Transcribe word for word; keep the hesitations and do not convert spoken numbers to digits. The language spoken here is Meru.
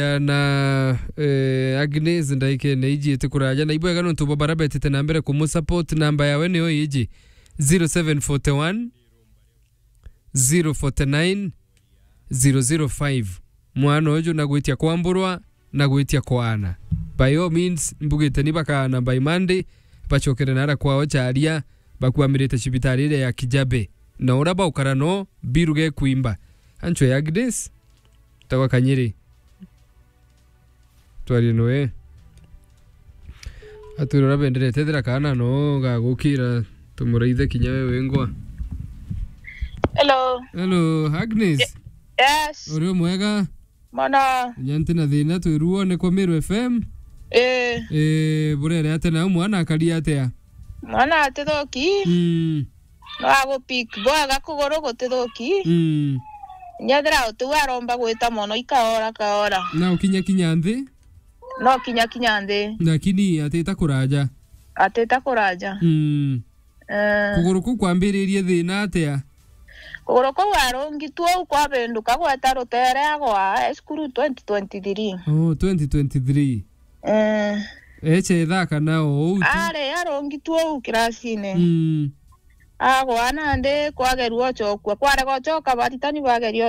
Na, eh, Agnes, ndaikene iji iti kuraja. Na ibwega nontu bwa bara betite na mbere kumusupport, namba yawe niyo iji, zero seven forty one, zero forty nine, zero zero five. Mwana uju na gwitia kwamburwa, na gwitia kwaana. By all means, mbugite ni bakaana by Monday, bacokere nara kwao Charia, bakwamirite cibitari iria ya Kijabe. Na uria baukara no, biruge kwimba. Ancho ya Agnes, tagwa Kanyiri. Twarie noe. Atwire uria benderete, ethira kaana no gagukira, tumuraithe kinya we wengwa. Hello. Hello, Agnes. Ye-, yes. Uri o mwega? Mwana. Nya nti na thina, twiru wone kwa Meru F M. Eh. Eh, burere atia nau mwana akari atia? Mwana atithuki. Mm. No agupik bwega kuguru gutithuki. Mm. Nyethira utiu aromba gwita mono ikaora kaora. Na ukinya kinya nthi? No kinya kinya nthi. Lakini atita kuraja? Atita kuraja. Mm. Eh. Kuguru kuu kwambiririe thina atia? Kuguru kuu arungitue uu kwabinduka gweta rutere agwa cukuru twenty twenty-three. Oh, twenty twenty-three. Eh. Eche ithaka na o uu tu. Ari arungitue uu kirasine. Mm. Agwa nandi kwagerua ocokua. Kwarega ocoka, baritani bageria